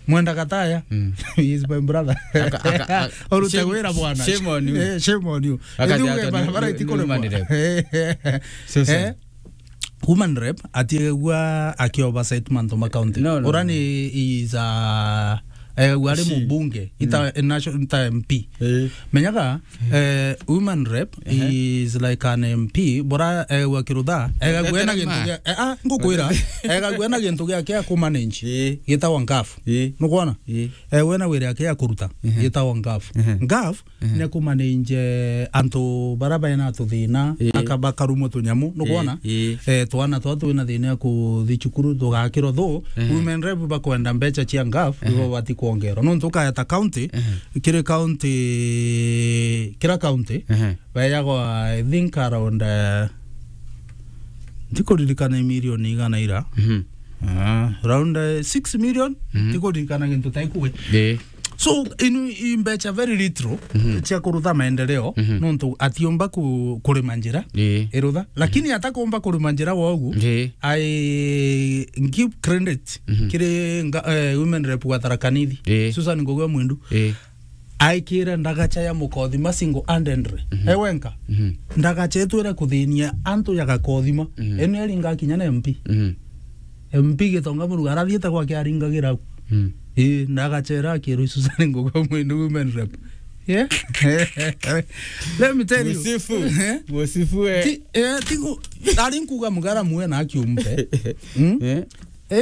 mwenda gataya. Mm. He is my brother. Aka- aka- aka- Orute shame- wira bwana. Shame on you. Eh, shame on you. Akathi Ithiuga atwa ni- barabara ni- ni human itikuruthwa. Rep. So sad. Eh? Woman rep atiegagua aki oversight mantu ma county. No, no, ura no. Ni is a egagua ari mubunge ita national ita M P. Eh. Menyaga eh, woman rep is like an M P bora egagua kirutha egagua ena gintu gia eh, ah ngukwira egagua ena gintu giake a ku manage. Eh. Gitawa ngaf. Eh. Nukwona? Eh. Egagua ena wira yake ya kuruta. Eh. Gitawa ngaf. Eh. Ngaf ne kumanage antu bara bena tuthina. Ii. Aka- bakarumwa tunyamu nukwona. Ii. Eh, twana twa twina thina ya kuthi cukuru tugakirwa thu. Ehe. Women rep bakwenda mbecha cia ngaf. Ehe. Ibo bati kwongerwa nontu ukaya ta county. Ehe. Kiri county kira county. Ehe. Bayagwa I think around eh, ndikuririkana i milioni igana ira. Mhm. Ah, around eh, six million. Mhm. Ndikuririkana gintu taikuwe. Ii. So inu imbecha very little cia kurutha maendeleo nontu atiumba ku- kurima njira. Ii. Irutha lakini atakumba kurima njira wogu. Ii. I give credit kiri nga- eh, women rep wa Tharaka Nithi. Ii. Susan Ngugi wa Mwindu. Ii. Aikire ndagacha ya mukothima single handedly. Ewenka ndagacha itwire kuthinia antu ya gakothima. Enu eringa kinya na M P. M P Gitonga Murugara athiite gwake aringagira au. Mm. Ii, na agachera akirwa Susan Ngugi Mwindu women rep. Yeah. Let me tell you. Musifu. Eh? Musifu, eh. Ti, eh, tigo, ari nkuga Mugara muwe na akiumpe. Mm? Eh?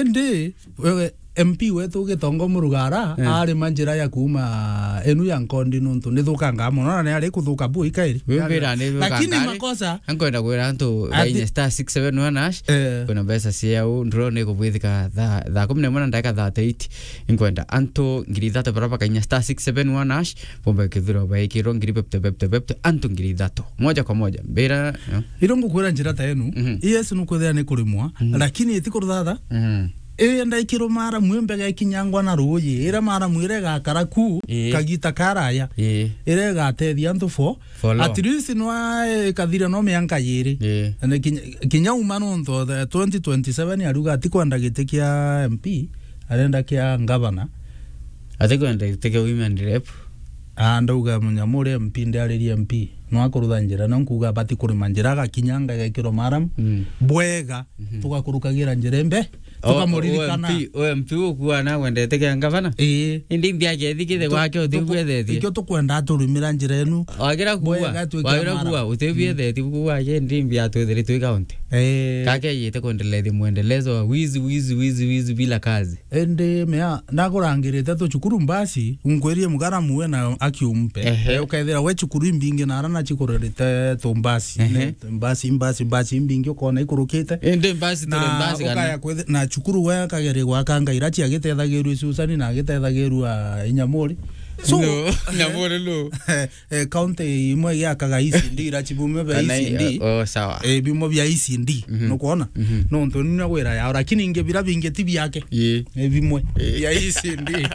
Indi, wewe, M P wetu Gitonga Murugara, eh, arima njira ya kuuma enu ya Nkondi nontu nithukangaa muno, na ni ari kuthuka bui kairi. Wibira nithukangaa. Lakini makosa Ankwenda kwira antu ati- bainye star six seven one hash. Eh. Kwina mbeca ciao, ndrone ikubwithika thaa, thaa kumi na imwe na ndagika thirty-eight. Inkwenda antu ngiri ithatu bara bakainya star six seven one hash, bomba kithiro baikirwo ngiri bepte, bepte, bepte, antu ngiri ithatu. Moja kwa moja. Mbira, yo. Iro ngukwira njira ta enu, mhm, yes nukwithira ni kurimwa, mhm, lakini itikuruthatha. Mhm. Ii ndaikirwo maramu imbega ikinyangwa na ruuji, ira maramu ira igakara ku, ii, kagita karaya. Ii. Ira igatethia antu for For long. At least nwa, eh, kathira no mianka yiri. Yeah. Na kinya, kinya uma nontu the twenty twenty-seven ariuga atikwenda giti kia M P, arenda kia ngavana. Atikwenda giti kia women rep. Ah, ndauga munyamu uria M P, ndiaririe M P. No akurutha njira, no nkuga abati kurima njira, agakinyanga, agekirwa maramu. Mm. Bwega, mhm, tugakurukagira njira imbe. O-, tukamuririkana. O M P, o M P ukua na wendete kia ngavana? Ii. Indi mbi akethikithe gwake utibwethetie. Ikio tukwenda aturumira njira enu. Wagira kuua, bwega, twikira wagira mara. Kuua, utibwethetie kuua, indi mbi atwithiri twi county. Ii. Kake yite kwendeleza mwendelezo wa wizi, wizi, wizi, wizi bila kazi. Indi mea, nakurangirite tucukuru mbasi, unkwirie Mugara muwe na akiumpe. Ehe. Ukethira we cukuru imbingi na ara nacikurorete tumbasi. Ehe. Mbasi, mbasi, mbasi imbingi ukona ikurukite. Indi mbasi turi na mbasi kana? Ukaya kwithi-, na cukuru we akageri gwakanga ira ciagitethagirua Susani na agitethagirua Inyamuri. So, no, Nyamuri no. Eh, county imwe giakaga E C D, ira ci bimwe bia kana E C D. Oh, sawa. Eh, bimwe bia E C D, mhm, nukwona? Mhm. Nontu ni na wira yao, lakini ingi bira bingi ti biake. Ii. Eh, bimwe. Ii. Bia E C D.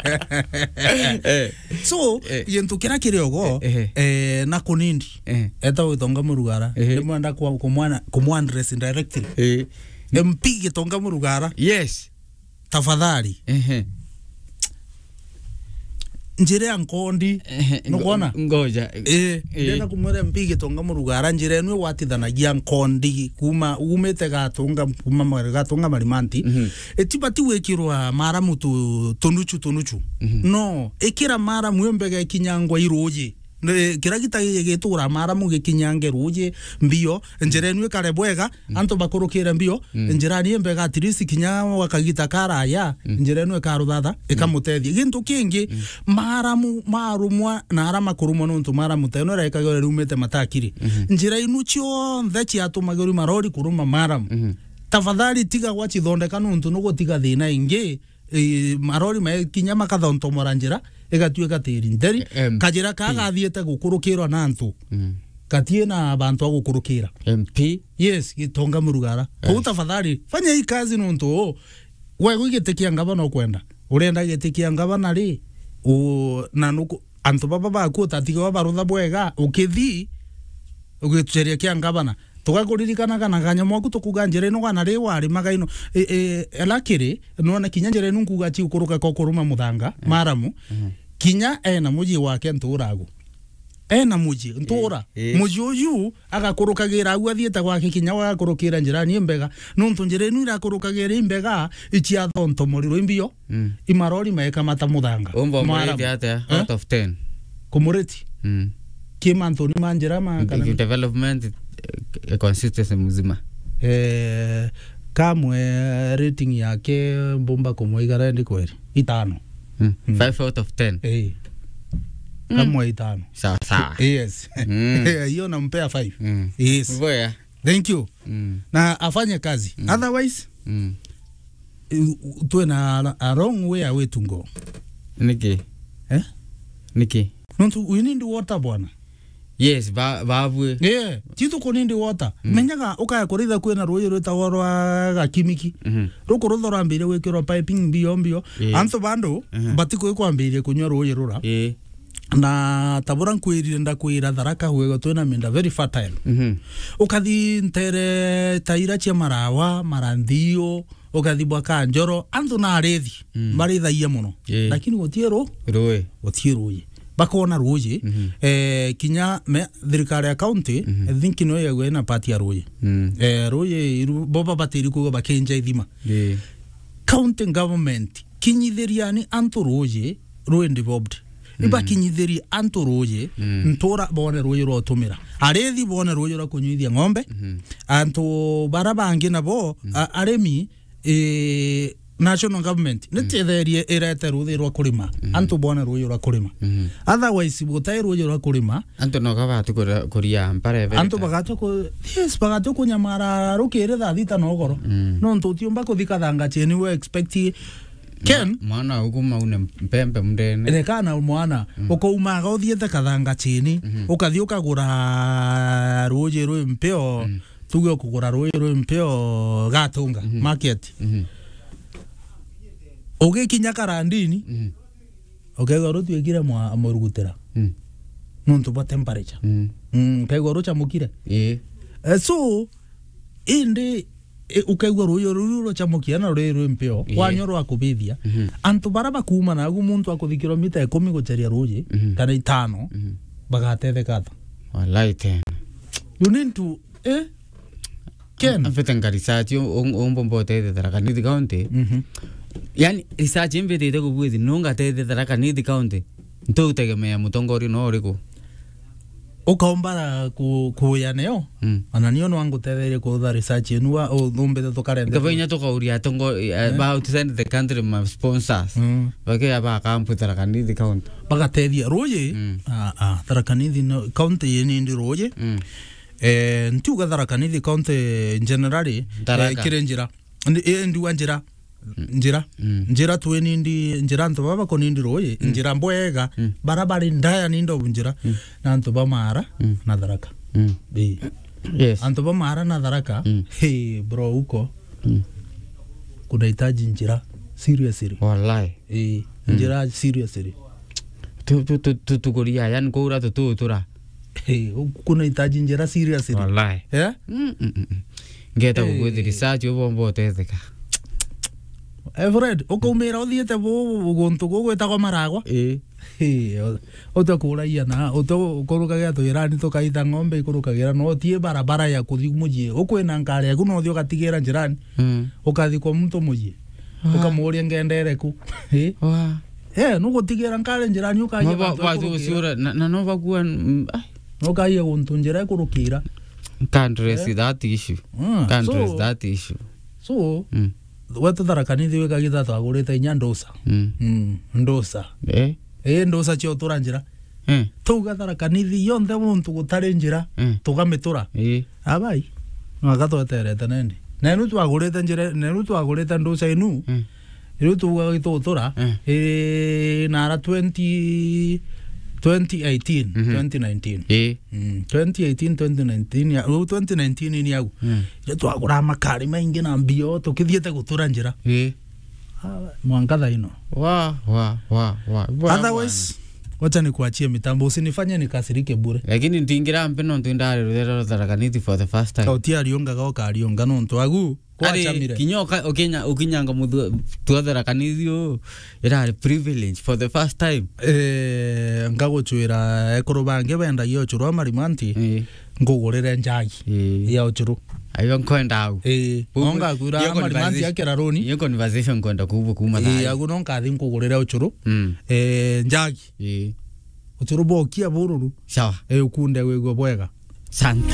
Eh. So, eh, gintu kira kiri ogo, eh, eh, eh, na kunindi. Eh. Eta Gitonga Murugara. Eh. Ndimwenda kwa-, kumwana, kumwaddress directly. Eh. M P Gitonga Murugara. Yes. Tafadhali. Ehe. Njira ya Nkondi. Ehe, ngo-, nukwona? Ngoja. Eh, eh, ndenda kumwira M P Gitonga Murugara, njira enu igwatithanagia Nkondi kuma, umite Gatunga, kuma ma-, Gatunga Marimanti. Mhm. Itibati gwikirwa maramu tu-, tunuchu, tunuchu. Mhm. No, ikira maramu imbega ikinyangwa iruji. Ne-, kira gita gi-, gitura maramu gikinyange ruji mbio, njira enu ikare bwega, mm, antu bakurukire mbio, mm, njira ni mbega, at least kinya wakagita karaya, mm, njira enu ikaruthatha, mm, ikamutethia. Gintu kingi, mm, maramu marumwa na ara makurumwa nontu maramu ta ino iraikagirwa irumite matakiri. Mhm. Njira inu cionthe ciatumagirwa marori kuruma maramu. Mhm. Tafadhali tiga gwacithondeka nontu nugutiga thina ingi, eh, marori ma kinya makathontomora njira, igatuika tiri ntheri. M P. Kajira ka gathiite gukurukirwa na antu. Mm. Gatie na bantu a gukurukira. M P. Yes, Gitonga Murugara. Yes. Kou tafadhali, fanya hii kazi nontu uu, we gwi giti kia ngavana ukwenda. Urenda giti kia ngavana ri, u-, na nuku-, antu baba baku utatiga babarutha bwega, ukithi, ugituceria kia ngavana. Tugakuririkanaga na kanya mwaku tukuga njira ino gana ri warimaga ino. E, e, ela kiri, nona kinya njira ino nkuga ci ukuruka ko kuruma muthanga, mm, maramu. Mhm. Kinya ena muji wake nturagu. Ena muji, ntura. Eh, eh. Muji uju agakurukagira au athiite gwake kinya agakurukira njira ni mbega. Nontu njira ino irakurukagira i mbega, iciathontomorirwe imbio. Mm. Imarori maekamata muthanga. Umba maramu. Umuriti atia? Eh? Out of ten. Kumuriti? Mm. Ki mantuni ma njira ma kana development, eh, consistency mzima. Eh, kamwe rating yake mbumba kumwiga rendi kweri? Itano. Mm. Mm. Five out of ten. Eh. Mm. Kamwe itano. Sawa, sawa. Yes. Mm. Hiyo nampea five. Mm. Yes. Mboya. Thank you. Mm. Na afanye kazi. Mm. Otherwise, mm, u-, u-, twina a, a long way away to go. Niki? Eh? Niki? Nontu we need water bwana. Yes, ba-, babue. Yeah, ti tuku need water. Mm. Menyaga ukaya kuritha kwina ruuji rwitagwa rwa Gakimiki. Mhm. Ruku rutho rwambirie gwikirwa piping mbio mbio. Yeah. Antu bandu, mhm, batiku kwambiria kunywa ruuji rura. Yeah. Na tabura nkwirire ndakwira Tharaka gwego twina minda very fertile. Mhm. Ukathi ntere ta ira cia Marawa, Maranthio, ukathi bwa Kanjoro, antu na arithi, mm, marithagia muno. Ii. Lakini gutie ru-, Rui. Gutie ruuji. Bakona ruuji, mhm, eh, kinya me, thirikari ya county, mhm, I think no yagwe na part ya ruuji. Mm. Eh, ruuji iru-, bo babatiri kuga bakinja ithima. Ii. County government, kinyithiriani antu ruuji, rui developed. Mm. Ibakinyithirie antu ruuji, mm, ntura bone ruuji rwa utumira. Arithi bone ruuji rwa kunyuithia ng'ombe. Mhm. Antu bara bangi nabo, mm, a-, arimi, eh, national government, mm, nitetherie irete ruuji rwa kurima. Mm. Antu bone ruuji rwa kurima. Mhm. Otherwise, gutai ruuji rwa kurima. Antu no gabati kuri-, kuria mpara ebe antu bata. Bagatu ku-, yes, bagatu kunyamara rukiri thaa thita na ugoro. Mm. Nontu utiumba kuthi kathanga cheni we expect Ken? Mwa-, mwana uku maune mpempe mndene. Reka na mwana, mm, ukaumaga uthiete kathanga chini, mhm, ukathi ukagura ruuji rwi mpeo, mm, tuge ukugura ruuji rwi mpeo Gatunga, mhm, market. Mhm. Ugikinya karandini, mhm, ukaigua rutuikire mwa-, murugutira. Mm. Nontu bwa temperature. Mm. Mm, ukaigua ruchamukire. Ii. Eh, so, indi e, ukaigua ruuji ruru rucamukia na ruri rwi mpeo, ii, wanyua rwa kubithia. Mhm. Antu bara bakuuma nagu muntu akuthi kilomita ikumi gucaria ruuji, mhm, kana itano, mhm, bagatetheka ata? Walai tena. You need to, eh? Ken? Mfite nga research, u-, u-, umbo mbote Tharaka Nithi County. Mhm. Yani, research imbitite kubwiti, nunga tete Tharaka Nithi County. Ntutegemea mutongoria no uriku. Ukaumba ku-, kuya neo. Mm. Ana nio no angutetherie kutha research enu wa, uthumbite tukarende. Ikaba inya tukauria atongo-, eh, eh, ba outside the country ma sponsors. Mm. Bake aba akampu Tharaka Nithi County. Bagatethia ruuji. Mm. Ah, ah, Tharaka Nithi no, county yeni ndi ruuji. Mm. Eh, ntiuga Tharaka Nithi County generally, Tharaka, eh, kiri njira. Ndi, eh, ndiuga njira. Njira. Mm. Njira twenty ndi, njira antu baba bakonindi ruuji, mm, njira mbwega, mm, bara bari ndaya ni ndobu njira, mm, na antu ba Maara, mm, na Tharaka. Mm. Ii. Yes. Antu ba Maara na Tharaka, mm, hey, bro, huko, mm, kunahitaji njira, seriously. Wallahi. Ii, mm, njira seriously. Tu, tu, tu, tu, tukuria, yani kuura tu, tu, tura. Hey, kunahitaji njira seriously. Wallahi. Eh? Mm, mm, mm, mm. Ngeta, eh, kugwithia research, ubomba utetheka. Eh, Fred, ukaumira uthiite bu-, guntu gugu gwitagwa Maragwa? Ii. Ii, o-, utakuragia na, uta-, ukurukagira twirani tukaita ng'ombe ikurukagira, no utie barabara ya kuthi mucii. Ukwina nkari yaku, no uthi ugatigira njirani. Mm. Ukathi kwa muntu mucii. Wa. Ukamuria ngendere ku. Ii. Wa. Eh, nugutigira nkari njirani, ukagia. Ma ba-, bantu ba-, bakurukira. Uciura, na, na no bakua, mm, ai. Nukagia guntu njira ikurukira. Can't address, eh, that issue. Mm, can't address, so, that issue. So, mm, wetu Tharaka Nithi wikagira twagurite inya ndosa. Mm. Mm, ndosa. Eh? Eh, ndosa cio tura njira. Eh. Tuga Tharaka Nithi yonthe muntu gutari njira, eh, tugamitura. Eh. Abai. Mwaka tweterete nendi. Na inu twagurite njira, na inu twagurite nduca inu. Mm. Riu tuuga gitutura, Mm. ii, nara twenty, twenty eighteen, Mhm. twenty nineteen. Ii. Mm, twenty eighteen, twenty nineteen, ya, riu twenty nineteen ni au. Mm. Riu twagura makari maingi na mbio, tukithiite gutura njira. Ii. Ah, mwanka thaa ino. Wa, wa, wa, wa. Bwana, Otherwise, bwana. Wacha nikuachie mitambo, usinifanye nikasirike bure. Lakini ndingira mpe nontu indari ruthere rwa Tharaka Nithi for the first time. Uti ariungaga, ukariunga nontu agu. Ari, kwachamire. Kinya uka-, ukinya-, ukinyanga muthu-, tuothera kanithiu, irari privilege for the first time. Eh, ngaguchwira ekuru bangi bendagia uchuru wa marimanti, Eh. Ngugurire njagi Eh. ya uchuru. Ayo nkwenda au. Eh, Ugu-, onga kwira iyo marimanti conversation, akira roni. Iyo conversation nkwenda kubu kuma Eh, thai. Agu no nkathi nkugurire uchuru. Mm. Eh, njagi. Eh. Uchuru bokia bururu. Sawa. Eh, ukunde wigwe bwega. Asante.